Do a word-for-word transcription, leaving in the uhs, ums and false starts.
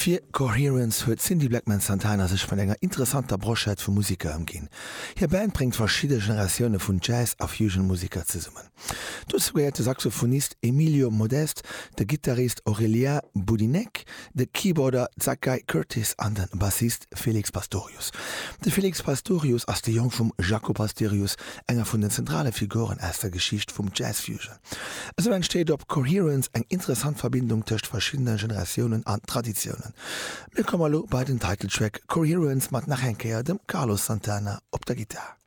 Fir Coherence huet d'Cindy Blackman Santana sech vun enger interessanter Broschett vu Museker ëmginn. Hir Band bréngt verschidde Generatioune vun Jazz a Fusion-Museker zesummen. Dozou gehéiert de Saxophonist Emilio Modeste, de Gittarist Aurélien Boudinec, de Keyboarder Zaccai Curtis an de Bassist Felix Pastorius. De Felix Pastorius ass de Jong vum Jaco Pastorius, enger vun den zentrale Figuren aus der Geschicht vum Jazz Fusion. Esou entsteet op Coherence eng interessant Verbindung tëscht verschiddene Generatiounen an Traditiounen. Mir komme elo bei den Titeltrack Coherence mat nach eng Kéier dem Carlos Santana op der Gittar.